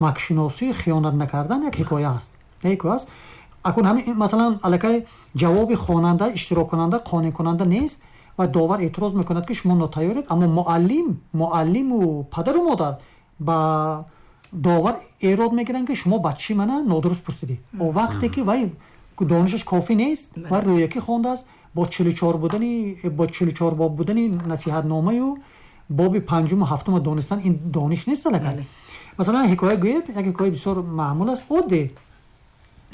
Намакшиносӣ, хиёнат накардан як ҳикоя аст, ҳикоя аст. Акун ҳамин, масалан, аллакай ҷавоби хонанда, иштироккунанда қонеъкунанда нест ва довар эътироз мекунад, ки шумо нотайёред. Аммо муаллиму падару модар ба довар эрод мегиранд, ки шумо бачаи мана нодуруст пурсидед. Вақте ки вай донишаш кофӣ нест ва рӯякӣ хондааст, бо 44 будани, бо 44 боб будани насиҳатномаю боби панҷуму ҳафтума донистан ин дониш нест аллакай. Масалан, ҳикоя гӯед, як ҳикояи бисёр маъмул аст, оддӣ.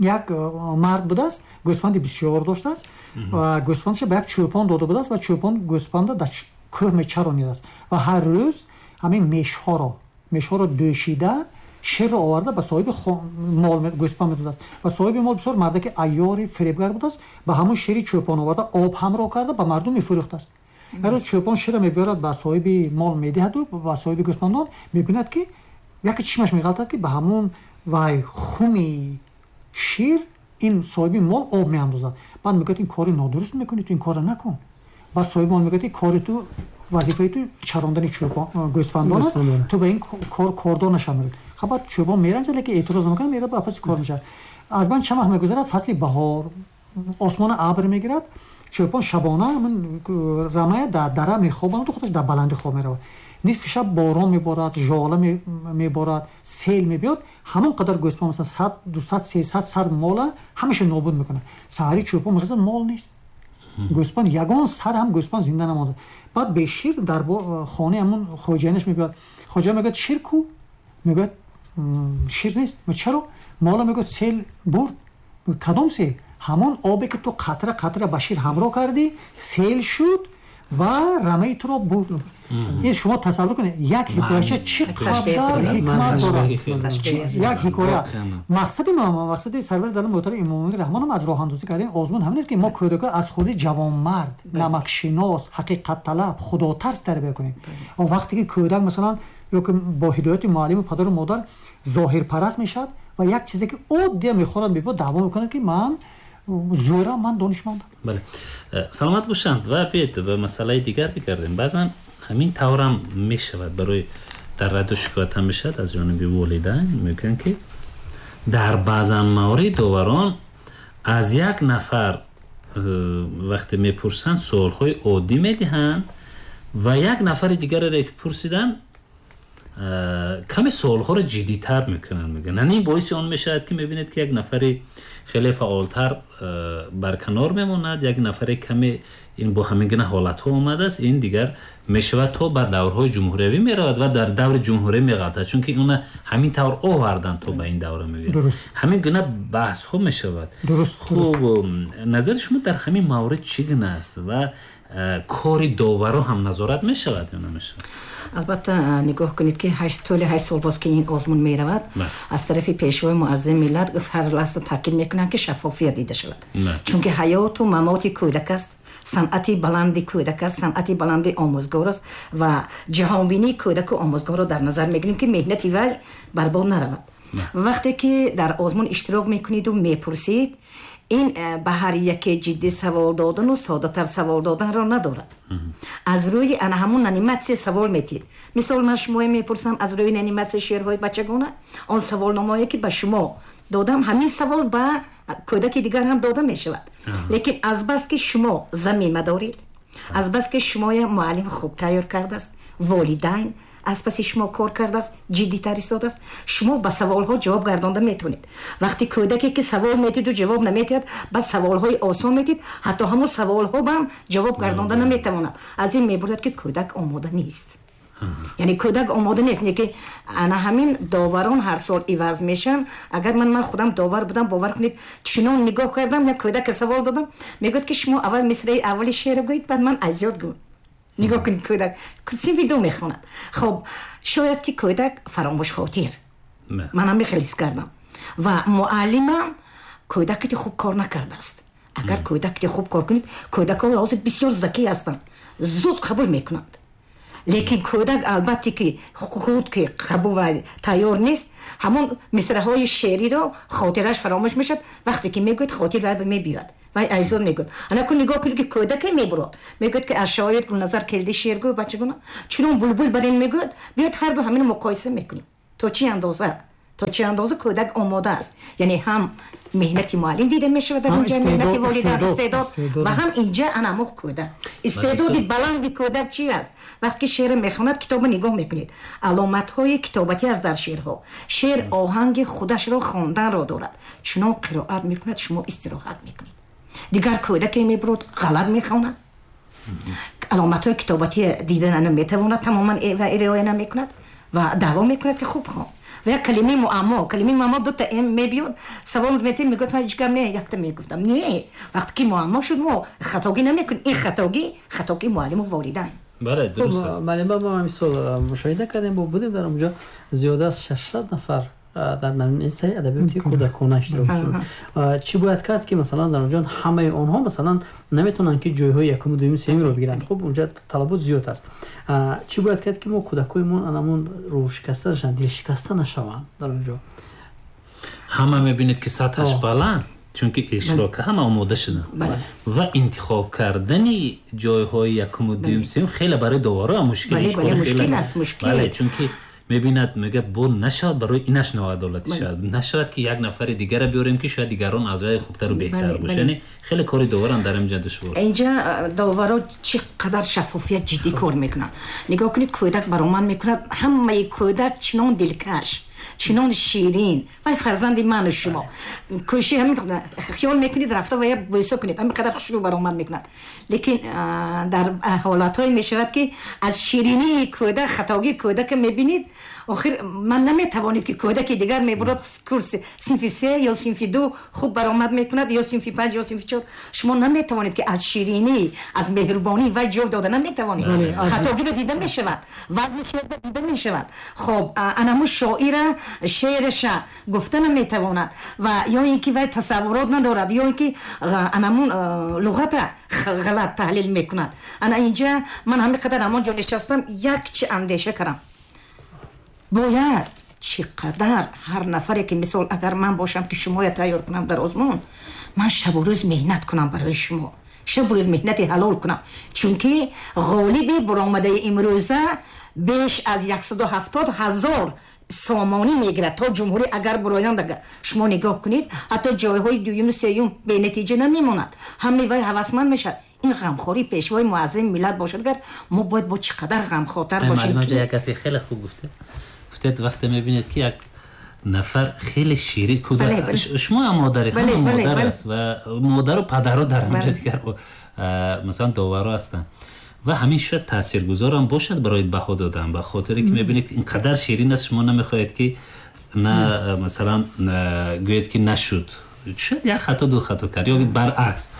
Як мард будааст, гӯсфанди бисёр доштааст ва гӯсфандашро ба як чӯпон дода будааст ва чӯпон гӯсфанда дар кӯҳ мечаронидааст ва ҳар рӯз ҳамин мешҳоро дӯшида, ширро оварда, ба соҳиби мол, гӯсфанд медодааст. Ва соҳиби мол бисёр мардаки айёри фиребгар будааст, ба ҳамон шири чӯпон оварда об ҳамроҳ карда, ба мардум мефурӯхтааст. Як рӯз чӯпон ширро мебиёрад, ба соҳиби мол медиҳаду ба соҳиби гӯсфандон, мебинад, ки яке чишмаш меғалтад, ки ба ҳамон вай хуми шир ин соҳиби мол об меандозад. Баъд мегӯяд: «Ин кори нодуруст мекунӣ, ту ин корро накун». Баъд соҳиби мол мегӯяд, ки кори ту, вазифаи ту чарондани гӯсфандон аст, ту ба ин кор кордор нашав, мегӯяд. Хаб, баъд чӯпон меранҷад, лекин эътироз намекунад, мерад, ба паси кор мешавад. Аз байн чанд вақт мегузарад, фасли баҳор, осмона абр мегирад. Чӯпон шабона рамая дар дара мехобанаду худаш дар баландӣ хоб меравад. Нисфи шаб борон меборад, жола меборад, сел мебиёд, ҳамон қадар гӯсфанд, масалан, 100, 200, 300 сар мола ҳамаша нобуд мекунад. Саҳари чӯпон мехезад, мол нест, гӯсфанд, ягон сар ҳам гӯсфанд зинда намонда. Баъд бешир дар хонаи ҳамон хоҷаинаш мебиёд. Хоҷа мегӯяд: «Шир ку?» Мегӯяд: «Шир нест». «Чаро?» «Мола, мегӯяд, сел бурд». «Кадом сел?» «Ҳамон обе, ки ту қатра қатра ба шир ҳамроҳ кардӣ, сел шуд ва рамаи туро бурд». Ин шумо тасаввур кунед, як ҳикояча чӣ қадар ҳикмат дорад, як ҳикоя. Мақсади ма, мақсади сарвари давлат муҳтарам Эмомалӣ Раҳмонам аз роҳандозӣ кардани озмун ҳамин аст, ки мо кӯдакҳо аз худи ҷавонмард, намакшинос, ҳақиқатталаб, худотарс тарбия кунем. Вақте ки кӯдак, масалан, ё ки бо ҳидояти муаллиму падару модар зоҳирпараст мешавад ва як чизе, ки оддия мехонад, мебиёд, даъво мекунад, ки ман зӯрам, ман донишмандам. Бале, саломат бошанд. Ва биед ба масъалаи дигар бигардем. Баъзан ҳамин таврам мешавад, барои дар радио шикоят ҳам мешавад аз ҷониби волидайн, мегӯянд, ки дар баъзан маврид доварон аз як нафар вақте мепурсанд, суолҳои оддӣ медиҳанд ва як нафари дигареро, ки пурсиданд, каме суолҳоро ҷиддитар мекунанд, мегӯянд. Ин боиси он мешавад, ки мебинед, ки як нафари хеле фаъолтар барканор мемонад, як нафаре каме. Ин бо ҳамин гуна ҳолатҳо омадааст. Ин дигар мешавад, то бар даврҳои ҷумҳуриявӣ меравад ва дар даври ҷумҳурӣ меғалтад, чунки уна ҳамин тавр оварданд то ба ин давра, мегӯянд. Ҳамин гуна баҳсҳо мешавад. Хуб, назари шумо дар ҳамин маврид чӣ гуна аст ва кори доваро ҳам назорат мешавад ё намешавад? Албатта, нигоҳ кунед, ки тӯли 8 сол боз, ки ин озмун меравад, аз тарафи Пешвои муаззами миллат ҳар лаҳза таъкид мекунанд, ки шаффофият дида шавад, чунки ҳаёту мамоти кӯдак аст, санъати баланди кӯдак аст, санъати баланди омӯзгор аст ва ҷаҳонбинии кӯдаку омӯзгорро дар назар мегирем, ки меҳнати вай барбод наравад. Вақте ки дар озмун иштирок мекуниду мепурсед, ин ба ҳар яке ҷиддӣ савол додану соддатар савол доданро надорад. Аз рӯи ана ҳамун номинатсия савол метиҳед. Мисол, ман шумоя мепурсам аз рӯи номинатсияи шеърҳои бачагона. Он саволномое, ки ба шумо додам, ҳамин савол ба кӯдаки дигар ҳам дода мешавад, лекин азбаски шумо замима доред, азбаски шумоя муаллим хуб тайёр кардааст, волидайн аз паси шумо кор кардааст, ҷиддитар истодааст, шумо ба саволҳо ҷавоб гардонда метавонед. Вақте кӯдаке, ки савол метиду ҷавоб наметиҳад, ба саволҳои осон метид, ҳатто ҳамон саволҳо баам ҷавоб гардонда наметавонад. Аз ин мебурад, ки кӯдак омода нест, яъне кӯдак омода нест. Не ки ана ҳамин доварон ҳар сол иваз мешаванд. Агар ман худам довар будам, бовар кунед, чунон нигоҳ кардам, як кӯдака савол додам, мегӯяд, ки шумо аввал мисраи аввали шеъро гӯед, баъд ман аз ёд гӯ. Нигоҳ кунед, кӯдак синфи ду мехонад. Хоб, шояд ки кӯдак фаромӯшхотир, ман ҳам хеле ҳис кардам ва муаллимам кӯдакити хуб кор накардааст. Агар кӯдакити хуб кор кунед, кӯдакҳо ҳозир бисёр закӣ ҳастанд, зуд қабул мекунанд. Лекин кӯдак, албатта, ки худ ки қабул ва тайёр нест, ҳамон мисраҳои шеъриро хотираш фаромӯш мешавад. Вақте ки мегӯяд, хотир вай мебиёяд, вай айзон мегӯяд. Анаку нигоҳ кунед, ки кӯдаке мебурод, мегӯяд, ки аз шоир Гулназар Келди шеър гӯ, бачагуна чунон булбул бар ин мегӯяд. Биёд, ҳарду ҳамин муқоиса мекунем, то чӣ андоза То чӣ андоза кӯдак омода аст, яъне ҳам меҳнати муаллим дида мешавад дар инҷа, меҳнати волидайн, истеъдод ва ҳам инҷа анамо кӯдак. Истеъдоди баланди кӯдак чи аст? Вақте ки шеър мехонад, китобро нигоҳ мекунед, аломатҳои китобатӣ аст дар шеърҳо. Шеър оҳанги худашро хонданро дорад, чунон қироат мекунад, шумо истироҳат мекунед. Дигар кӯдаке мебурад, ғалат мехонад, аломатҳои китобатӣ дида наметавонад, тамоман риоя намекунад ва даъво мекунад, ки хуб хон. Ва як калимаи муаммо, калимаи муаммо дута м мебиёд, савол метем, мегӯяд, ман ҳеҷ гап не, якта мегуфтам. Не, вақте ки муаммо шуд, мо хатогӣ намекунем. Ин хатогӣ муаллиму волидайн. Бале, дуруст аст. Муаллима, мо ҳамин сол мушоҳида кардем, бо будем дар онҷо, зиёда аз 600 нафар дар номинатсияи адабиёти кӯдакона иштирок шуд. Чӣ бояд кард, ки масалан дар онҷо ҳамаи онҳо масалан наметавонанд, ки ҷойҳои якуму, дуюму, сеюмро бигиранд? Хуб, онҷо талабот зиёд аст. Чӣ бояд кард, ки мо кӯдакҳои анамон рӯҳшикаста нашаванд, дилшикаста нашаванд дар онҷо? Ҳама мебинед, ки сатҳаш баланд, чунки иштирок ҳама омода шуданд ва интихоб кардани ҷойҳои якуму, дуюм, сеюм хеле барои доваро мушкил. Мушкил. Чунки мебинад, мегӯяд, бо нашавад барои инаш ноадолатӣ шавад, нашавад, ки як нафари дигара биёрем, ки шояд дигарон аз вай хубтару беҳтар бошад. Яъне хеле кори доварам дар инҷа душвор. Инҷа доваро чӣ қадар шаффофият, ҷиддӣ кор мекунанд. Нигоҳ кунед, кӯдак баромад мекунад, ҳамаи кӯдак чунон дилкаш, чунон ширин, вай фарзанди ману шумо, кӯши ҳамин хиёл мекунед, рафта ва я бӯса кунед, ҳамин қадар хушрӯ баромад мекунад. Лекин дар ҳолатҳое мешавад, ки аз ширинии кӯдак хатогии кӯдака мебинед. Охир ман наметавонед, ки кӯдаки дигар мебурад, курси синфи се ё синфи ду хуб баромад мекунад, ё синфи панҷ, ё синфи чор. Шумо наметавонед, ки аз ширинӣ, аз меҳрубонӣ вай ҷой дода наметавонед. Хатогиро дида мешавад, вазни шеърро дида мешавад. Хоб, анаму шоира шеъраша гуфта наметавонад ва ё ин ки вай тасаввурот надорад, ё ин ки анамун луғата ғалат таҳлил мекунад. Ана инҷа ман ҳамин қадар ҳамон ҷо нишастам, як чи андеша кардам: бояд чӣ қадар ҳар нафаре ки, мисол, агар ман бошам, ки шумоя тайёр кунам дар озмун, ман шабу рӯз меҳнат кунам барои шумо, шабу рӯз меҳнати ҳалол кунам, чунки ғолиби буромадаи имрӯза беш аз 170 000 сомонӣ мегирад то ҷумҳурӣ. Агар буроянд, агар шумо нигоҳ кунед, ҳатто ҷойҳои дуюму сеюм бенатиҷа намемонад, ҳамаи вай ҳавасманд мешавад. Ин ғамхории пешвои муаззами миллат бошад, агар мо бояд бо чӣ қадар ғамхортар бошем. Як гапи хеле хуб гуфтед. Гуфтед, вақте мебинед, ки як нафар хеле ширин кӯдак, шумо ҳам модари, ҳама модар аст ва модару падаро дар ҳамҷа дигар масалан доваро ҳастанд ва ҳамин шояд таъсиргузорам бошад барои баҳо додан, ба хотире ки мебинед, ин қадар ширин аст, шумо намехоҳед, ки на масалан гӯед, ки нашуд, шояд як хато, ду хато кард, ё баръакс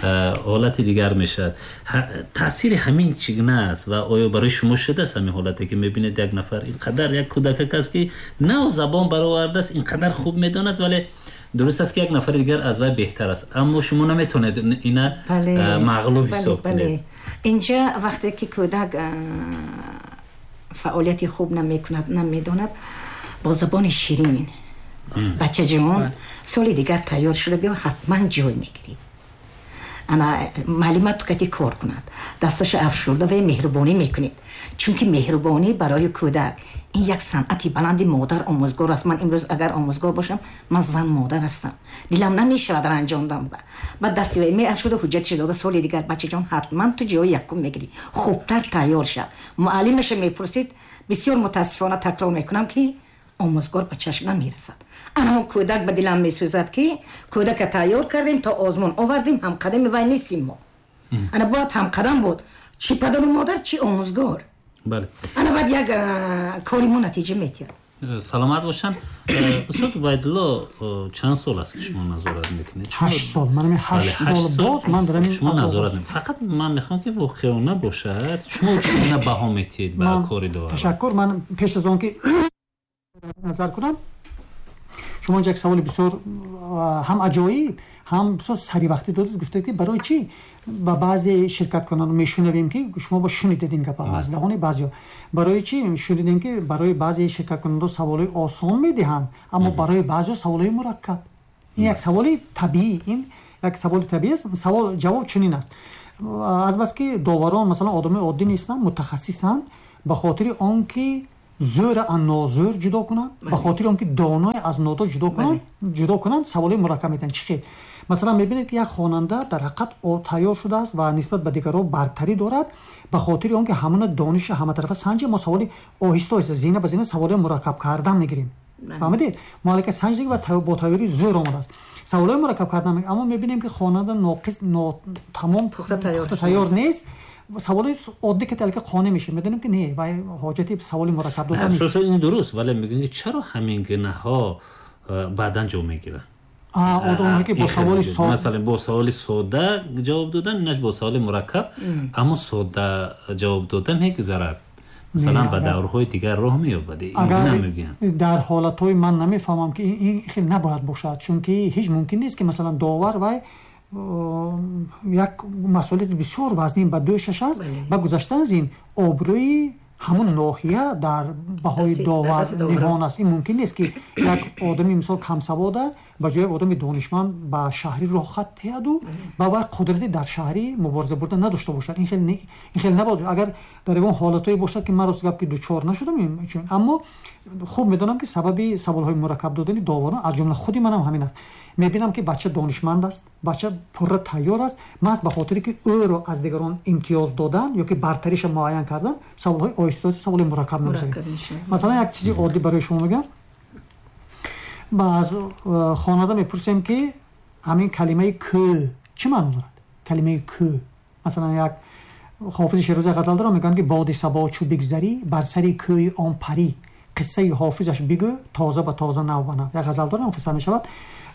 ҳолати дигар мешавад. Таъсири ҳамин чӣ гуна аст ва оё барои шумо шудааст ҳамин ҳолате, ки мебинед, як нафар ин қадар, як кӯдакак аст, ки нав забон баровардааст, ин қадар хуб медонад, вале дуруст аст, ки як нафари дигар аз вай беҳтар аст, аммо шумо наметавонед ина мағлуб ҳисоб кунед? Инҷа вақте ки кӯдак фаъолияти хуб намекунад, намедонад, бо забони ширин: «Бачаҷон, соли дигар тайёр шуда биё, ҳатман ҷой мегирӣ». Ана муаллима тукати кор кунад, дасташа афшурда ва меҳрубонӣ мекунед, чунки меҳрубонӣ барои кӯдак ин як санъати баланди модар омӯзгор аст. Ман имрӯз агар омӯзгор бошам, ман зан модар ҳастам, дилам намешавад ранҷондам. Баъд дасти вай меафшуда, ҳуҷҷатша дода: «Соли дигар, бачаҷон, ҳатман ту ҷои якум мегирӣ, хубтар тайёр шав». Муаллимаша мепурсид. Бисёр мутаассифона такрор мекунам, ки омӯзгор ба чашм намерасад. Анамо кӯдак ба дилам месӯзад, ки кӯдака тайёр кардем, то озмун овардем, ҳамқадами вай нестим мо. Ана бояд ҳамқадам буд, чӣ падару модар, чӣ омӯзгор. Ана баъд як кори мо натиҷа метиҳад. Саломат бошанд. Устод Убайдулло, чанд сол аст, ки шумо назорат мекунед? 8 сол. Ман 8 сол боз ман дар Шумо назорат, фақат ман мехоҳам, ки воқеона бошад, шумо чӣ гуна баҳо метиҳед ба кори довар? Ташаккур. Ман пеш аз он ки назар кунам, шумо инҷа як саволи бисёр ҳам аҷоиб, ҳам бисёр саривақтӣ додед. Гуфтед, ки барои чӣ ба баъзе ширкаткунандон мешунавем, ки шумо ба шунидед ин гапа аз даҳони баъзеҳо, барои чӣ шунидем, ки барои баъзе ширкаткунандон саволҳои осон медиҳанд, аммо барои баъзеҳо саволҳои мураккаб? Ин як саволи табиӣ, ин як саволи табиӣ аст. Савол ҷавоб чунин аст: азбаски доварон масалан одамои оддӣ нестанд, мутахассисанд, ба хотири он ки зӯра аз нозӯр ҷудо кунанд, ба хотири он ки доное аз нодон ҷудо кунанд, саволҳои мураккаб медиҳанд. Чӣ хел? Масалан, мебинед, ки як хонанда дар ҳақиқат тайёр шудааст ва нисбат ба дигарон бартарӣ дорад. Ба хотири он ки ҳамона дониши ҳаматарафа санҷем, мо саволи оҳиста оҳиста, зина ба зина саволҳои мураккаб кардан мегирем. Фаҳмидед? Мо аллакай санҷидем ва бо тайёрии зӯр омадааст. Саволҳои мураккаб кардан, аммо мебинем, ки хонанда ноқис, нотамом, пухта тайёр нест. Саволи оддӣ ки аллакай қонеъ мешавем, медонем, ки не, вай ҳоҷати саволи мураккаб додан нест. Ин дуруст, вале мегӯем, ки чаро ҳамин гунаҳо баъдан ҷо мегиранд? Одамое ки бо саволи масалан, бо саволи сода ҷавоб додан, инаш бо саволи мураккаб, аммо сода ҷавоб додан мегузарад, масалан, ба даврҳои дигар роҳ меёбад. Агар дар ҳолатҳои ман намефаҳмам, ки ин хел набояд бошад, чунки ҳеҷ мумкин нест, ки масалан довар вай як масъулияти бисёр вазнин ба дӯшаш аст ва гузашта аз ин обрӯи ҳамон ноҳия дар баҳои довар ниҳон аст. Ин мумкин нест, ки як одами, мисол, камсавода ба ҷои одами донишманд ба шаҳрӣ роҳхат диҳаду ба вай қудрати дар шаҳрӣ мубориза бурда надошта бошад. Ин хел набояд. Агар дар ягон ҳолатҳое бошад, ки ман, рост гап, ки дучор нашудам, аммо хуб медонам, ки сабаби саволҳои мураккаб додани доварон, аз ҷумла худи манам, ҳамин аст. Мебинам, ки бача донишманд аст, бача пурра тайёр аст. Маҳз ба хотире ки ӯро аз дигарон имтиёз додан ё ки бартариша муайян кардан, саволҳои оҳиста оҳиста саволи мураккаб мегузарем. Масалан, як чизи оддӣ барои шумо мегӯям. Аз хонанда мепурсем, ки ҳамин калимаи кӯ чӣ маъно дорад? Калимаи кӯ, масалан, як Ҳофизи Шерозӣ ғазал дорам, мегӯянд, ки боди сабо чу бигзарӣ, бар сари кӯи он парӣ, қиссаи ҳофизаш бигӯ тоза ба тоза, нав ба нав. Як ғазал дорам, қисса мешавад: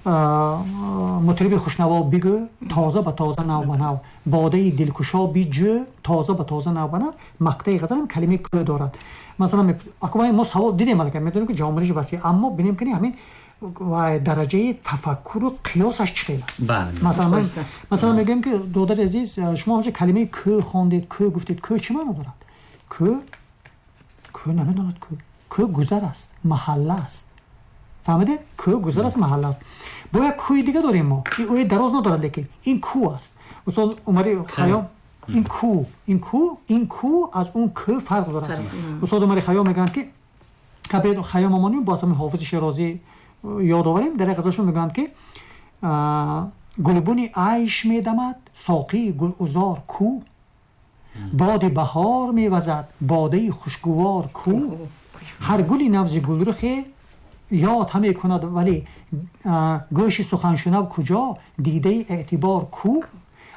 мутриби хушнаво бигӯ тоза ба тоза, нав ба нав, бодаи дилкушо биҷӯ тоза ба тоза, нав ба нав. Мақтаи ғазалам калимаи кӯ дорад. Масалан, мо савол дидем, аллакай медонем, ки ҷомуниши васеъ, аммо бинем, ки ҳамин ва дараҷаи тафаккуру қиёсаш чӣ хел аст. Масалан, мегӯем, ки додари азиз, шумо ҳамча калимаи кӯ хондед, кӯ гуфтед, кӯ чӣ маъно дорад? Кӯ, кӯ намедонад. Кӯ, кӯ гузар аст, маҳалла аст. Фаҳмидед? Кӯ гузар аст, маҳалла аст. Бо як кӯи дига дорем мо, ин ӯи дароз надорад, лекин ин кӯ аст. Устод Умари Хаём, ин кӯ, ин кӯ, ин кӯ аз он кӯ фарқ дорад. Устод Умари Хаём мегӯянд, ки Хаём омонем, боз ҳамин Ҳофизи Шерозӣ ёд оварем, дар як ғазалшон мегӯянд, ки гулбуни айш медамад соқии гулузор кӯ, боди баҳор мевазад бодаи хушгувор кӯ, ҳар гули навзи гулрухе ёд ҳаме кунад, вале гӯши суханшунав куҷо, дидаи эътибор кӯ.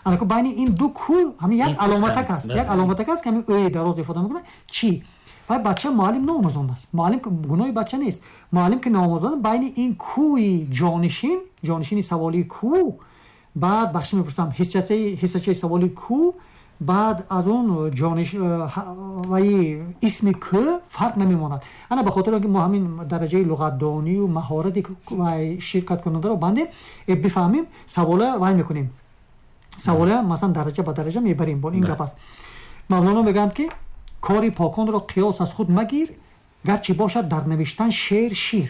Анаку байни ин ду кӯ ҳамин як аломатак аст, як аломатак аст, ки ҳамин ӯи дароз ифода мекунад. Чӣ? Вай бача муаллим наомӯзонд аст, муаллим, гуноҳи бача нест, муаллим ки наомӯзонд. Байни ин кӯи ҷонишин, ҷонишини саволии кӯ, баъд бахши мепурсам, ҳиссачаи саволи кӯ, баъд аз он ҷониш ваи исми кӯ фарқ намемонад. Ана ба хотири он ки мо ҳамин дараҷаи луғатдонию маҳорати вай ширкаткунандаро бандем, бифаҳмем, савола вай мекунем, савола, масалан, дараҷа ба дараҷа мебарем. Бо ин гап аст. Мавлоно мегӯянд, ки кори поконро қиёс аз худ магир, гарчи бошад дар навиштан шер шир.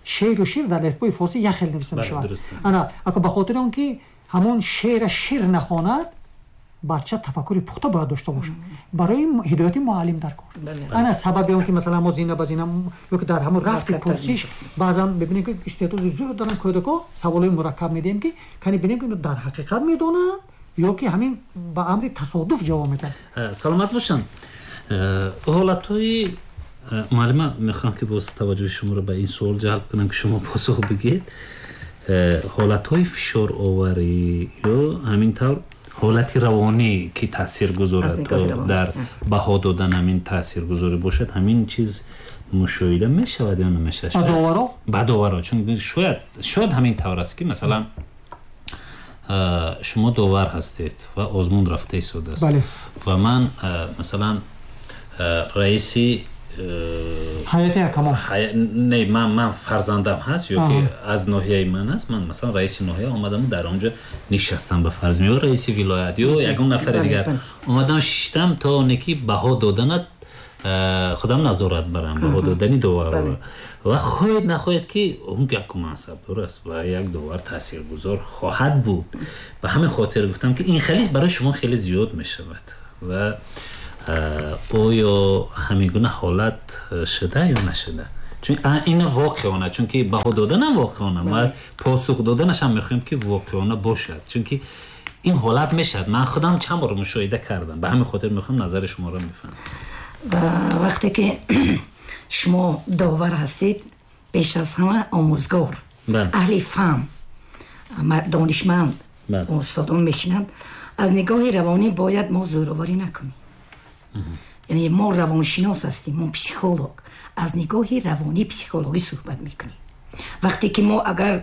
Шеру шир дар алифбои форсӣ як хел нависта мешавад. Ана ако ба хотири он ки ҳамон шера шир нахонад, бача тафаккури пухта бояд дошта бошад, барои ҳидояти муаллим дар кор. Ана сабаби он ки, масалан, мо зина ба зина ё ки дар ҳамон рафти пурсиш баъзан мебинем, ки истеъдоди зуд доранд кӯдако, саволҳои мураккаб медиҳем, ки кани бинем, ки дар ҳақиқат медонанд ё ки ҳамин ба амри тасодуф ҷавоб медиҳанд. Саломат бошанд. Ҳолатҳои муаллима, мехоҳам, ки боз таваҷҷӯҳи шуморо ба ин суол ҷалб кунам, ки шумо посух бигӯед. Ҳолатҳои фишороварӣ ё ҳамин тавр ҳолати равонӣ, ки таъсир гузорад, дар баҳо додан ҳамин таъсиргузорӣ бошад, ҳамин чиз мушоҳида мешавад ё намешавад? Ба доваро? Ба доваро, чун шояд ҳамин тавр аст, ки масалан, шумо довар ҳастед ва озмун рафта истодааст ва ман, масалан, раиси ҳайати ҳакамон. Не, ман фарзандам ҳаст ё ки аз ноҳияи ман аст, ман, масалан, раиси ноҳия омадаму дар он ҷо нишастам, ба фарз, ё раиси вилоят ё ягон нафари дигар омадам, шиштам, то оне ки баҳо доданат худам назорат барам, баҳо додани доварро. Ва хоҳед нахоҳед, ки он як мансабдор аст ва як довар таъсиргузор хоҳад буд. Ба ҳамин хотир гуфтам, ки ин хеле барои шумо хеле зиёд мешавад ва Оё ҳамин гуна ҳолат шуда ё нашуда? Чун ин воқеона, чунки баҳо доданам воқеона, ма посух доданашам мехоҳем ки воқеона бошад, чунки ин ҳолат мешавад. Ман худам чанд бор мушоҳида кардам, ба ҳамин хотир мехоҳам назари шуморо мефаҳмам. Ва вақте ки шумо довар ҳастед, пеш аз ҳама омӯзгор, аҳли фаҳм, донишманд, устодон мешинанд. Аз нигоҳи равонӣ бояд мо зӯроварӣ накунем. Яъне мо равоншинос ҳастем, мо психолог. Аз нигоҳи равонӣ психологӣ суҳбат мекунем. Вақте ки мо агар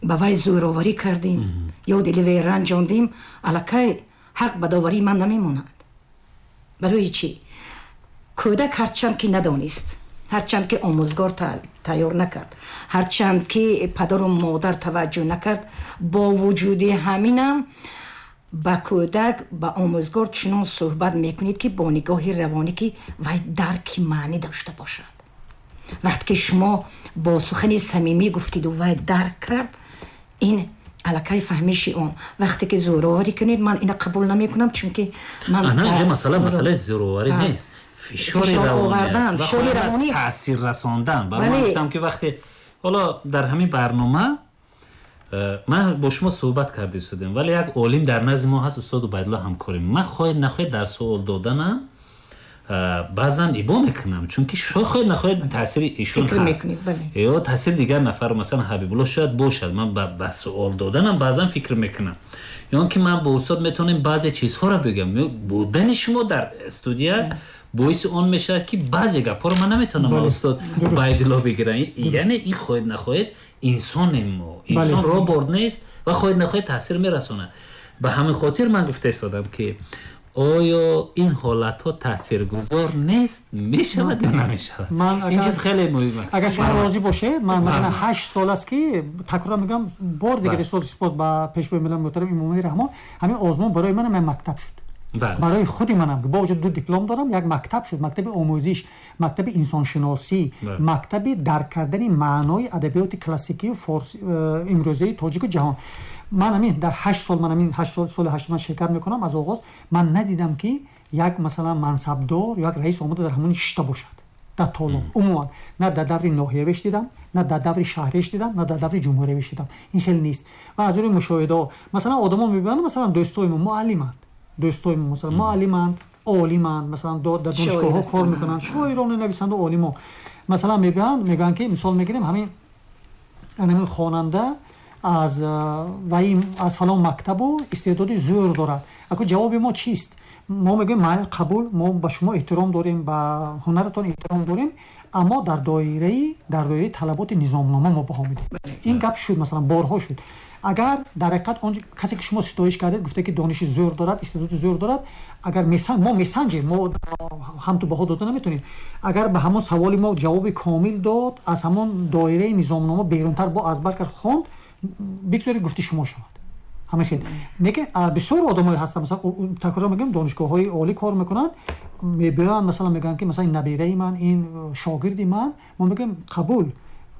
ба вай зӯроварӣ кардем ё дили вай ранҷондем, аллакай ҳақ ба доварии ман намемонад. Барои чӣ? Кӯдак ҳарчанд ки надонист, ҳарчанд ки омӯзгор тайёр накард, ҳарчанд ки падару модар таваҷҷӯҳ накард, бо вуҷуди ҳаминам ба кӯдак, ба омӯзгор чунон суҳбат мекунед, ки бо нигоҳи равонӣ ки вай дарки маънӣ дошта бошад. Вақте ки шумо бо сухани самимӣ гуфтиду вай дарк кард, ин аллакай фаҳмиши он. Вақте ки зӯроварӣ кунед, ман ина қабул намекунам, чунки ман масъалаи зӯроварӣ нест, фишори равонӣ, таъсир расондан. Ба ман гуфтам ки вақте ҳоло дар ҳамин барнома ман бо шумо суҳбат карда истодем, вале як олим дар назди мо ҳаст, устод Убайдулло ҳамкорим. Ман хоҳед нахоҳед дар суол доданам баъзан ибо мекунам, чунки хоҳед нахоҳед таъсири ишон ҳаст ё таъсири дигар нафар, масалан Ҳабибулло шояд бошад. Ман ба суол доданам баъзан фикр мекунам, ё ки ман бо устод метавонем баъзе чизҳоро бигӯям. Будани шумо дар студия боиси он мешавад ки баъзе гапҳоро ман наметавонам ба устод Убайдулло бигирам. Яъне ин хоҳед нахоҳед инсонем мо, инсон робот нест ва хоҳед нахоҳед таъсир мерасонад. Ба ҳамин хотир ман гуфта истодам ки оё ин ҳолатҳо таъсиргузор нест, мешавад ё намешавад? Ин чиз хеле муҳим аст. Агар шумо розӣ бошед, ман масалан 8 сол аст ки такрор мегӯям, бор дигар сипос ба пешвои миллат муҳтарам Эмомалӣ Раҳмон, ҳамин озмун барои ман ҳам мактаб шуд. Барои худи манам бо вуҷуди 2 диплом дорам, як мактаб шуд, мактаби омӯзиш, мактаби инсоншиносӣ, мактаби дарк кардани маънои адабиёти классикию форси имрӯзаи тоҷику ҷаҳон. Ман ҳамин дар 8 сол, ман ҳамин 8 сол, соли 8 ман ширкат мекунам аз оғоз, ман надидам ки як масалан мансабдор ё як раис омада дар ҳамон шишта бошад дар толон. Умуман на дар даври ноҳиявиш дидам, на дар даври шаҳриш дидам, на дар даври ҷумҳуриявиш дидам. Ин хеле нест. Ва аз рӯи мушоҳидаҳо масалан одамо мебинанд, масалан дӯстои мо муаллиманд, дӯстои мо масалан муаллиманд, олиманд, масалан дар донишгоҳҳо кор мекунанд, шоирону нависанду олимо. Масалан мебинанд, мегӯянд ки мисол мегирем ҳамин хонанда аз вай аз фалон мактабу истеъдоди зӯр дорад. Ако ҷавоби мо чист? Мо мегӯем майли қабул, мо ба шумо эҳтиром дорем, ба ҳунаратон эҳтиром дорем, аммо дар доираи талаботи низомнома мо баҳо медиҳем. Ин гап шуд, масалан борҳо шуд. Агар дар ҳақиқат он касе ки шумо ситоиш кардед, гуфта ки дониши зӯр дорад, истеъдоди зӯр дорад, агар мо месанҷем, мо ҳам ту баҳо дода наметавонем. Агар ба ҳамон саволи мо ҷавоби комил дод, аз ҳамон доираи низомнома берунтар бо аз бар кард хонд, бигзоред гуфти шумо шавад. Ҳамин хел. Лекин бисёр одамое ҳастанд, масалан такрор мегӯям, донишгоҳҳои олӣ кор мекунанд, мебиёянд, масалан мегӯянд ки масалан ин набераи ман, ин шогирди ман. Мо мегӯем қабул,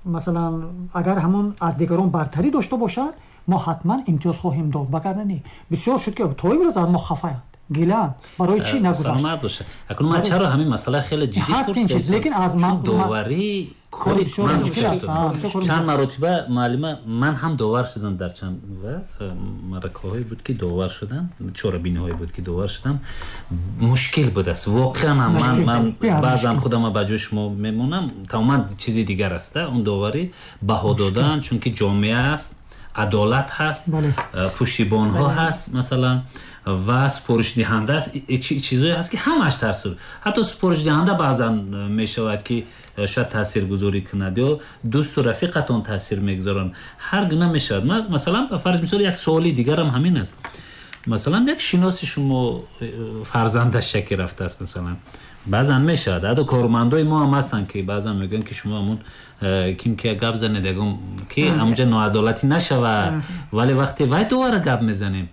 масалан агар ҳамон аз дигарон бартарӣ дошта бошад, мо ҳатман имтиёз хоҳем дод, вагарна не. Бисёр шуд ки то имрӯз аз мо хафаянд, гилаанд, барои чӣ нагузашт? Саломат бошад. Акнун ман чаро ҳамин масъала хеле ҷиддӣ ҳаст ин чиз, лекин аз ман доварӣ кори ман чанд маротиба муаллима, ман ҳам довар шудам дар чанд маракаҳое буд ки довар шудам, чорабиниҳое буд ки довар шудам. Мушкил будааст воқеан. Ман баъзан худама ба ҷои шумо мемонам, тамоман чизи дигар аст он доварӣ, баҳо додан, чунки ҷомеа аст, адолат ҳаст, пуштибонҳо ҳаст масалан, ва супоришдиҳанда аст. Чизое ҳаст ки ҳамааш таъсир, ҳатто супоришдиҳанда баъзан мешавад ки шояд таъсиргузорӣ кунад ё дӯсту рафиқатон таъсир мегузоранд, ҳар гуна мешавад. Масалан ба фарз мисол як суоли дигарам ҳамин аст. Масалан як шиноси шумо фарзандаш шаки рафтааст, масалан баъзан мешавад, ҳатто кормандои мо ҳам ҳастанд ки баъзан мегӯянд ки шумо ҳамун ким ки гап занед, ягон ки ҳамунҷа ноадолатӣ нашавад, вале вақте вай довара гап мезанем,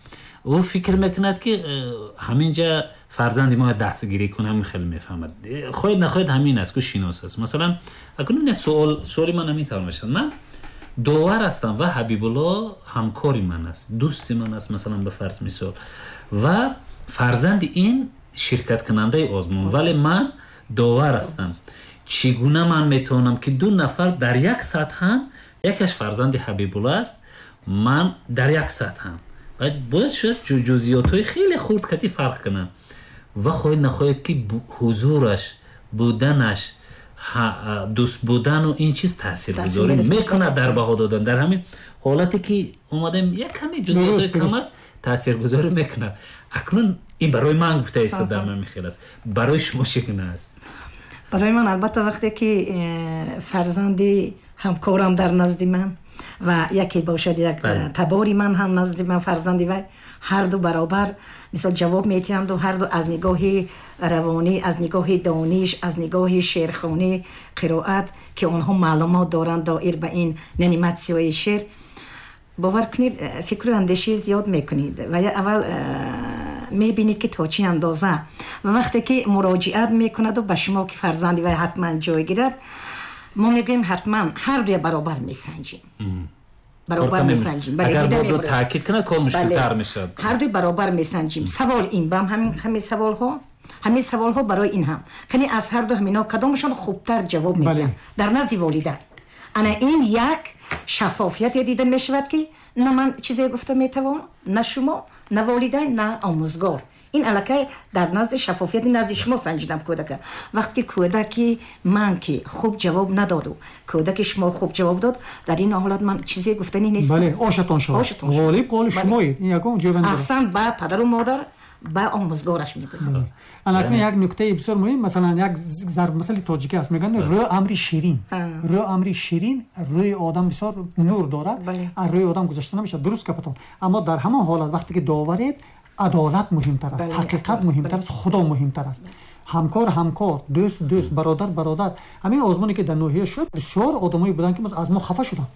ӯ фикр мекунад ки ҳаминҷа фарзанди мо дастгирӣ кунад, ҳамин хеле мефаҳмад. Хоҳед нахоҳед ҳамин аст, ку шинос аст. Масалан акнун ин суоли ман ҳамин тавр мешавад. Ман довар ҳастам ва Ҳабибулло ҳамкори ман аст, дӯсти ман аст, масалан ба фарз мисол, ва фарзанди ин Ширкаткунандаи озмун, вале ман довар ҳастам. Чӣ гуна ман метавонам, ки ду нафар дар як сатҳанд, якаш фарзанди Ҳабибулло аст, ман дар як сатҳам, бояд шояд ҷузъиётҳои хеле хурд кати фарқ кунам ва хоҳед нахоҳед, ки ҳузураш, буданаш, дӯст будану ин чиз таъсиргузорӣ мекунад дар баҳо додан. Дар ҳамин ҳолате ки омадем, як каме ҷузъиётҳои кам аст, таъсиргузорӣ мекунад. Акнун ин барои ман гуфта истодам, ҳамин хел аст. Барои шумо чӣ гуна аст? Барои ман, албатта, вақте ки фарзанди ҳамкорам дар назди ман ва яке бошад, як табори ман ҳам назди ман, фарзанди вай, ҳарду баробар, мисол, ҷавоб метиҳанду ҳарду аз нигоҳи равонӣ, аз нигоҳи дониш, аз нигоҳи шеърхонӣ, қироат, ки онҳо маълумот доранд доир ба ин номинатсияи шеър, бовар кунед, фикру андешӣ зиёд мекунед ва аввал мебинед, ки то чӣ андоза. Ва вақте ки муроҷиат мекунаду ба шумо, ки фарзанди вай ҳатман ҷой гирад, мо мегӯем, ҳатман ҳар дуя баробар месанҷим, баробар месанҷим. Таъкид кунад, кор мушкилтар мешавад. Ҳардуи баробар месанҷим. Савол ин бам ҳамин саволҳо, ҳамин саволҳо барои ин ҳам. Кани, аз ҳарду ҳамино кадомашон хубтар ҷавоб медиҳанд дар назди волидан? Ана ин як шаффофияте дида мешавад, ки на ман чизе гуфта метавонам, на шумо, на волидайн, на омӯзгор. Ин аллакай дар назди шаффофияти назди шумо санҷидам кӯдака. Вақте ки кӯдаки ман ки хуб ҷавоб надоду кӯдаки шумо хуб ҷавоб дод, дар ин ҳолат ман чизе гуфтанӣ нестам. Бале, ошатон шавад, ғолиб ғолиб шумоед, ин ягон ҷой. Аҳсан, ба падару модар, ба омӯзгораш мегӯям. Аллакай як нуктаи бисёр муҳим. Масалан, як зарбмасали тоҷикӣ аст, мегӯянд: рӯ амри ширин, рӯ амри ширин, рӯи одам бисёр нур дорад, аз рӯи одам гузашта намешавад. Дуруст гапатон, аммо дар ҳамон ҳолат, вақте ки доваред, адолат муҳимтар аст, ҳақиқат муҳимтар аст, худо муҳимтар аст. Ҳамкор ҳамкор, дӯст дӯст, бародар бародар. Ҳамин озмоне ки дар ноҳия шуд, бисёр одамое буданд, ки аз мо хафа шуданд,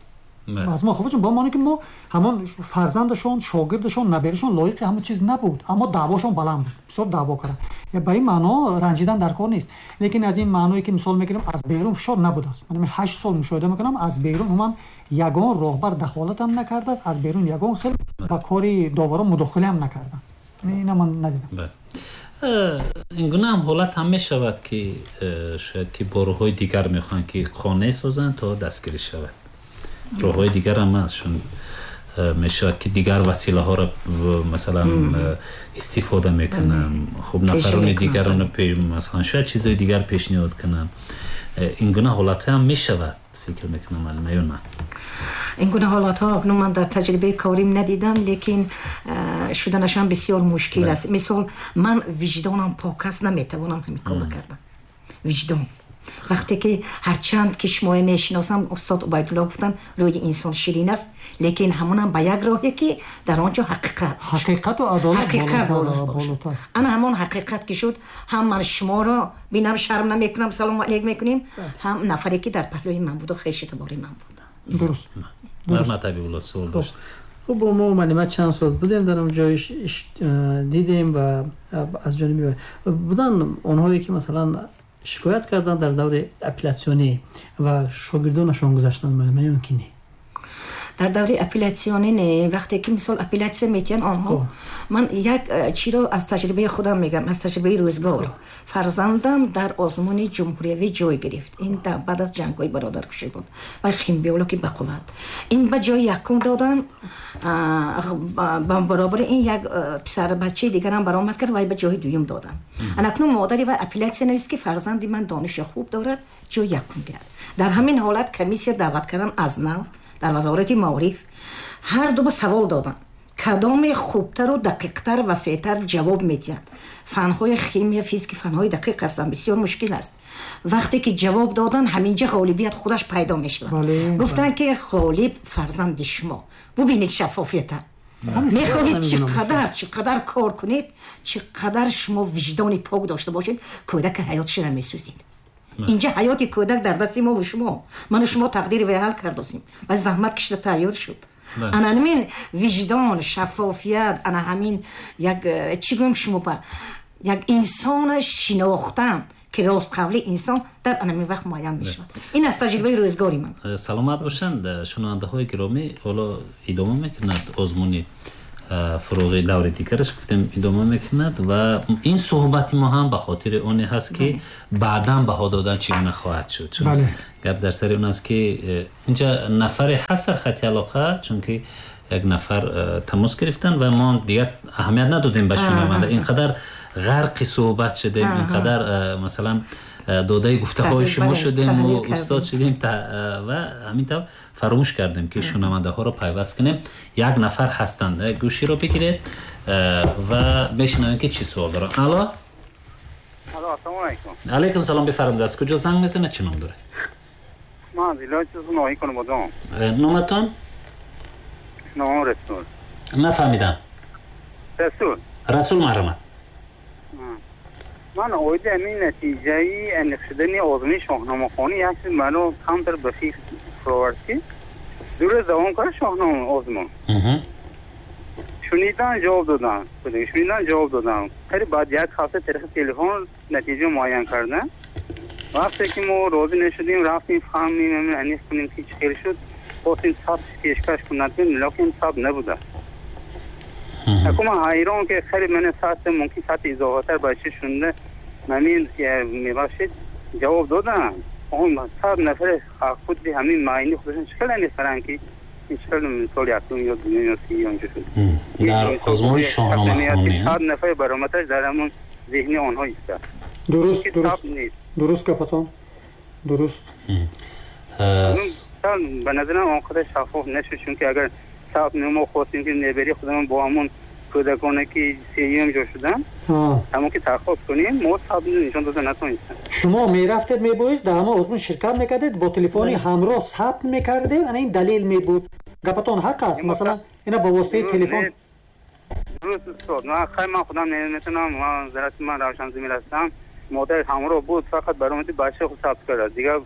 аз мо хафа шуданд, бо маъне ки мо ҳамон фарзандашон, шогирдашон, наберашон лоиқи ҳамон чиз набуд, аммо даъвошон баланд буд, бисёр даъво карданд. Ба ин маъно ранҷидан дар кор нест, лекин аз ин маъное ки мисол мегирем, аз берун фишор набудааст. Ман 8 сол мушоҳида мекунам, аз берун умуман ягон роҳбар дахолатам накардааст, аз берун ягон хел ба кори доварон мудохилаам накарданд. Ина ман надидам. Ин гуна ҳам ҳолат ҳам мешавад, ки шояд ки бо роҳҳои дигар мехоҳанд, ки қонеъ созанд то дастгирӣ шавад. Роҳҳои дигар ҳам ҳаст, чун мешавад, ки дигар василаҳоро, масалан, истифода мекунанд, хуб, нафарони дигарро, масалан, шояд чизҳои дигар пешниҳод кунанд. Ин гуна ҳолатҳо ҳам мешавад, фикр мекунам, муаллима, ё на? Ин гуна ҳолатҳо акнун ман дар таҷрибаи корим надидам, лекин шуданашам бисёр мушкил аст. Мисол, ман виҷдонам пок аст, наметавонам ҳамин корро кардан. Виҷдон вақте ки ҳарчанд ки шумоя мешиносам, устод Убайдулло гуфтанд, рӯи инсон ширин аст, лекин ҳамонам ба як роҳе, ки дар он ҷо ҳақиқат ҳақиқату адолат. Ҳақиқат бошад. Ана ҳамон ҳақиқат ки шуд, ҳам ман шуморо бинам, шарм намекунам, салому алейк мекунем, ҳам нафаре ки дар паҳлӯи ман буду хеши табори ман буд. Дуруст. Марҳамат, Ҳабибулло, суол дошт. Хуб, бо мо муаллима чанд сол будем дар он ҷой, дидем ва аз ҷониби будан онҳое, ки масалан шикоят карданд дар даври апеллятсионӣ ва шогирдонашон гузаштанд, муаллима, ё ки не? Дар даври апеллятсионӣ не. Вақте ки, мисол, апеллятсия метиҳанд онҳо, ман як чиро аз таҷрибаи худам мегам, аз таҷрибаи рӯзгор. Фарзандам дар озмуни ҷумҳуриявӣ ҷой гирифт. Ин баъд аз ҷангҳои бародаркушӣ буд ва химбиологи бақувват. Ин ба ҷои якум додан, ба баробари ин як писарбачаи дигарам баромад кард, вай ба ҷои дуюм додан. Анакнун модари вай апеллятсия навист, ки фарзанди ман дониши хуб дорад, ҷои якум гирад. Дар ҳамин ҳолат комиссия даъват кардан аз нав дар Вазорати маориф, ҳар ду ба савол доданд: кадоме хубтару дақиқтар, васеътар ҷавоб медиҳад? Фанҳои химия, физики фанҳои дақиқ ҳастанд, бисёр мушкил аст. Вақте ки ҷавоб додан, ҳаминҷа ғолибият худаш пайдо мешавад. Гуфтанд, ки ғолиб фарзанди шумо. Бубинед шаффофията. Мехоҳед чӣ қадар, чӣ қадар кор кунед, чӣ қадар шумо виҷдони пок дошта бошед, кӯдака ҳаётшира месӯзед. Инҷа ҳаёти кӯдак дар дасти мо ва шумо. Ману шумо тақдири вай ҳал кардосем ва заҳмат кишида тайёр шуд. Ана ҳамин виҷдон, шаффофият, ана ҳамин як, чӣ гӯем, шумо ба як инсона шинохтан, ки ростқавли инсон дар ана ҳамин вақт муайян мешавад. Ин аз таҷрибаи рӯзгори ман. Саломат бошанд. Шунавандаҳои гиромӣ, ҳоло идома мекунад озмуни Фуруғи даври дигараш гуфтем идома мекунад ва ин суҳбати мо ҳам ба хотири оне ҳаст, ки баъдан баҳо додан чӣ гуна хоҳад шуд. Чун гап дар сари он аст, ки инҷа нафаре ҳаст дар хати алоқа, чунки як нафар тамос гирифтан ва мо дигар аҳамият надодем ба шунаванда. Ин қадар ғарқи суҳбат шудем, ин қадар масалан додаи гуфтаҳои шумо шудем ва устод шудем ва ҳамин тавр фаромӯш кардем, ки шунавандаҳоро пайваст кунем. Як нафар ҳастанд, гӯширо бигиред ва мешунавем, ки чӣ суол доранд. Алло. Алло, ассалому алайкум. Алайкум салом, бифармоед, аз куҷо занг мезанед, чӣ ном доред? Ман аз вилояти ноҳияи Конибодом. Номатон? Номам Расул. Нафаҳмидам. Расул. Расул, марҳамат. Ман оиди ҳамин натиҷаи аниқ шудани озмуни шоҳномахонӣ як чиз маро камтар ба фикр фуровард, ки 2 рӯз давом кард шоҳнома озмун. Шунидан, ҷавоб додан, шунидан, ҷавоб додан. Қариб баъд як ҳафта тариқи телефон натиҷа муайян кардан. Вақте ки мо розӣ нашудем, рафтем фаҳмем, аниқ кунем, ки чӣ хел шуд, хостем сабт пешкаш кунад, лекин сабт набуда. Аку ман ҳайрон, ки қариб мана саати мумкин саати изофатар бача шунда ҳамин, мебахшед, ҷавоб додам. Он 100 нафар худи ҳамин маъини худашон чӣ хел аниқ карданд, ки ин чӣ хел мисол якум ё дуюм ё сеюм онҷо шуд? Дар озмуни шоҳномахонӣ. 100 нафар баромадаш дар ҳамон зеҳни онҳо истад. Дуруст, дуруст, дуруст, гапатон дуруст. Ба назарам, он қадар шаффоф нашуд, чунки агар сабт мо хостем, ки небери худамон бо ҳамон кӯдаконе, ки сеюм ҷо шуданд, ҳамон ки дархост кунем, мо сабт нишон дода натонистем. Шумо мерафтед, мебоист дар ҳамон озмун ширкат мекардед, бо телефони ҳамроҳ сабт мекардед, ана ин далел мебуд. Гапатон ҳақ аст, масалан, ина ба воситаи телефон. Дуруст, устод. Ман хай, ман худам наметавонам, ман зарати ман равшанзамир ҳастам. Модар ҳамроҳ буд, фақат баромади бача худ сабт кард, дигар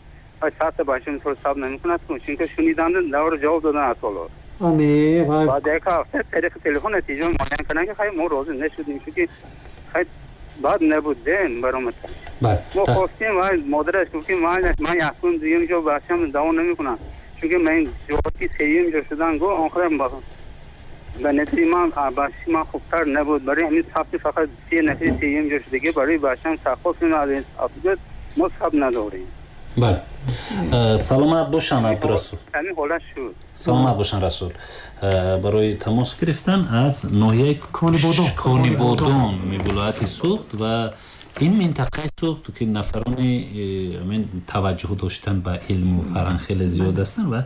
сабта бача мисол сабт намекунад, чунки шуниданд, давр ҷавоб додан аз ҳоло. Ане вай. Баъд як ҳафта тариқи телефон натиҷа муайян карданд, ки хай, мо розӣ нашудем, чунки хай баъд набуд дем баромад. Мо хостем ва модараш гуфт, ки ман якум, дуюм ҷо бачам давом намекунам, чунки ман ки сеюм ҷо шудан гу он қадар ба назари ман бачаи ман хубтар набуд. Барои ҳамин сабти фақат се нафари сеюм ҷо шудагӣ барои бачам дархост кунем, аз мо сабт надорем. Бале, саломат бошанд, Абдурасул. Ҳамин ҳолат шуд. Саломат бошанд, Расул, барои тамос гирифтан аз ноҳияи Конибодом, вилояти Суғд ва ин минтақаи Суғд, ки нафарони ҳамин таваҷҷӯҳ доштан ба илму фарҳанг хеле зиёд ҳастанд ва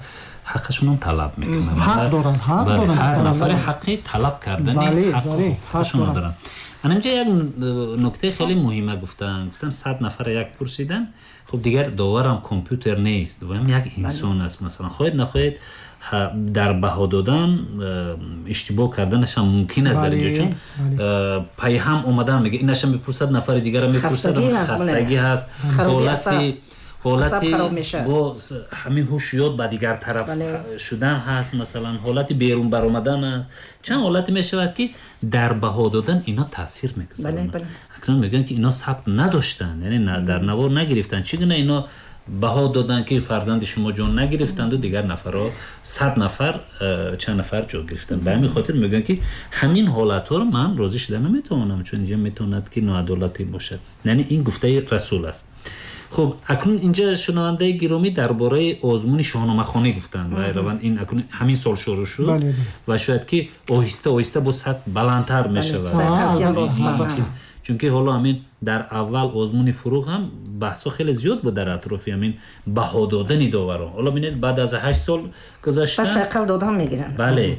ҳаққашонам талаб мекунанд. Ҳақ доранд, ҳақ доранд. Ҳар нафаре ҳаққи талаб кардани ҳаққашонро доранд. Ана инҷа як нуктаи хеле муҳима гуфтанд. Гуфтанд, 100 нафара як пурсидан. Хуб, дигар доварам компютер нест ва ҳам як инсон аст. Масалан, хоҳед нахоҳед, дар баҳо додан иштибоҳ карданашам мумкин аст дар инҷо, чун пайҳам омадан мега, инашам мепурсад, нафари дигара мепурсад, хастагӣ ҳаст, ҳолати бо ҳамин ҳуш ёд ба дигар тараф шудан ҳаст, масалан, ҳолати берун баромадан аст. Чанд ҳолате мешавад, ки дар баҳо додан ино таъсир мегузоранд. Акнун мегӯянд, ки ино сабт надоштанд, яъне дар навор нагирифтанд. Чӣ гуна ино баҳо доданд, ки фарзанди шумо ҷон нагирифтанду дигар нафарҳо, 100 нафар, чанд нафар ҷо гирифтанд? Ба ҳамин хотир мегӯянд, ки ҳамин ҳолатҳоро ман розӣ шуда наметавонам, чун инҷа метавонад, ки ноадолатӣ бошад. Яъне ин гуфтаи Расул аст. Хуб, акнун инҷа шунавандаи гиромӣ дар бораи озмуни шоҳномахонӣ гуфтанд ва раванд ин акнун ҳамин сол шурӯъ шуд ва шояд, ки оҳиста оҳиста бо сатҳ баландтар мешавад, чунки ҳоло ҳамин дар аввал озмуни Фуруғ ҳам баҳсҳо хеле зиёд буд дар атрофи ҳамин баҳо додани доварон. Ҳоло бинед, баъд аз 8 сол гузаштан Бале.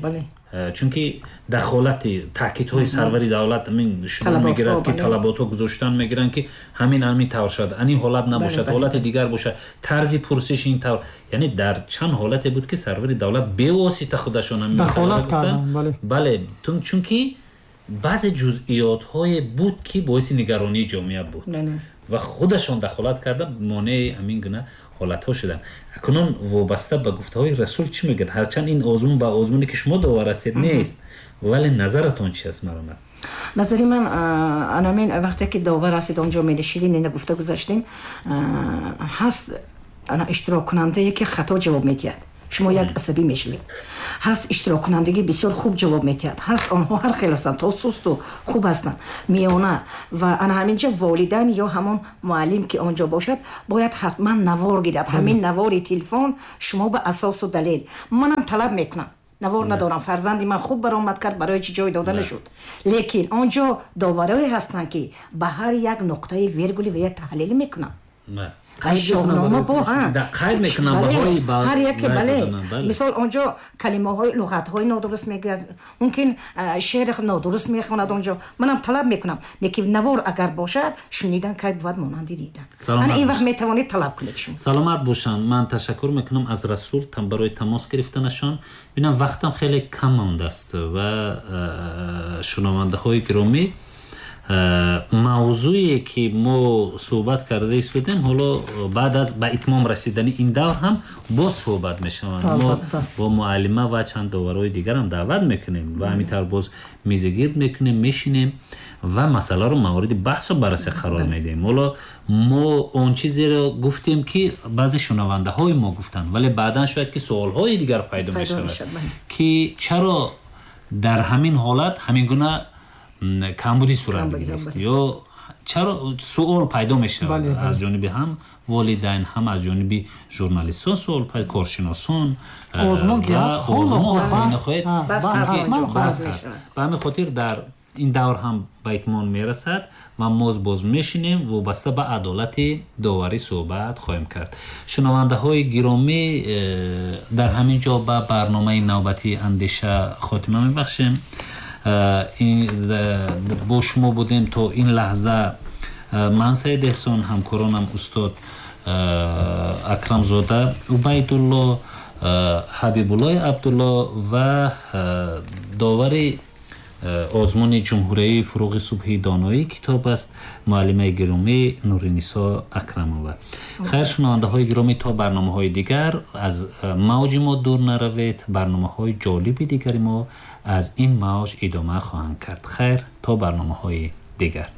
Чунки дахолати таъкидҳои сарвари давлат ҳамин шудан мегирад, ки талаботҳо гузоштан мегиранд, ки ҳамин ҳамин тавр шавад, ани ҳолат набошад, ҳолати дигар бошад, тарзи пурсиш ин тавр. Яъне дар чанд ҳолате буд, ки сарвари давлат бевосита худашон бале, чунки баъзе ҷузъиётҳое буд, ки боиси нигаронии ҷомеа буд ва худашон дахолат карда, монеи ҳамин гуна ҳолатҳо шуданд. Акнун вобаста ба гуфтаҳои Расул чӣ мегӯяд? Ҳарчанд ин озмун ба озмуне, ки шумо довар ҳастед, нест, вале назаратон чи аст, маромад? Назари ман анамин: вақте ки довар ҳастед, онҷо менишидем, ина гуфта гузаштем, ҳаст ана иштироккунандае, ки хато ҷавоб медиҳад. Шумо як асабӣ мешавед. Ҳаст иштироккунандагӣ бисёр хуб ҷавоб медиҳад, ҳаст онҳо ҳар хел ҳастанд, то сусту хуб ҳастанд, миёна. Ва ана ҳаминҷа волидайн ё ҳамон муаллим ки он ҷо бошад, бояд ҳатман навор гирад. Ҳамин навори телефон шумо ба асосу далел. Манам талаб мекунам, навор надорам, фарзанди ман хуб баромад кард, барои чӣ ҷой дода нашуд? Лекин он ҷо доварое ҳастанд, ки ба ҳар як нуқтаи вергули ва як таҳлил мекунанд. Шоҳнома бо қайд мекунам баҳои ҳар яке, бале. Мисол, он ҷо калимаҳои, луғатҳои нодуруст мегӯяд, мумкин шеър нодуруст мехонад. Он ҷо манам талаб мекунам, лекин навор агар бошад, шунидан кай бувад монанди дидан. Ана ин вақт метавонед талаб кунед шумо. Саломат бошанд. Ман ташаккур мекунам аз Расул барои тамос гирифтанашон. Бинам, вақтам хеле кам мондааст ва шунавандаҳои гиромӣ, мавзӯе ки мо суҳбат карда истодем, ҳоло баъд аз ба итмом расидани ин давр ҳам боз суҳбат мешаванд. Мо бо муаллима ва чанд доварҳои дигарам даъват мекунем ва ҳамин тавр боз мизигирд мекунем, мешинем ва масъаларо мавриди баҳсу баррасӣ қарор медиҳем. Ҳоло мо он чизеро гуфтем, ки баъзе шунавандаҳои мо гуфтанд, вале баъдан шояд ки суолҳои дигар пайдо мешавад, ки чаро дар ҳамин ҳолат ҳамин гуна камбудӣ сурат гирифт ё чаро суол пайдо мешавад аз ҷониби ҳам волидайн, ҳам аз ҷониби журналистон суол, коршиносон. Озмун ки ҳаст, ба ҳамин хотир дар ин давр ҳам ба итмом мерасад ва мо боз мешинем, вобаста ба адолати доварӣ суҳбат хоҳем кард. Шунавандаҳои гиромӣ, дар ҳамин ҷо ба барномаи навбатии «Андеша» хотима мебахшем. Бо шумо будем то ин лаҳза ман, Саид Эҳсон, ҳамкоронам устод Акрамзода Убайдулло, Ҳабибуллои Абдулло ва довари озмуни ҷумҳурияи «Фуруғи субҳи доноӣ китоб аст», муаллимаи гиромӣ Нуринисо Акрамова. Хайр, шунавандаҳои гиромӣ, то барномаҳои дигар аз мавҷи мо дур наравед. Барномаҳои ҷолиби дигари мо аз ин мавҷ идома хоҳанд кард. Хайр, то барномаҳои дигар.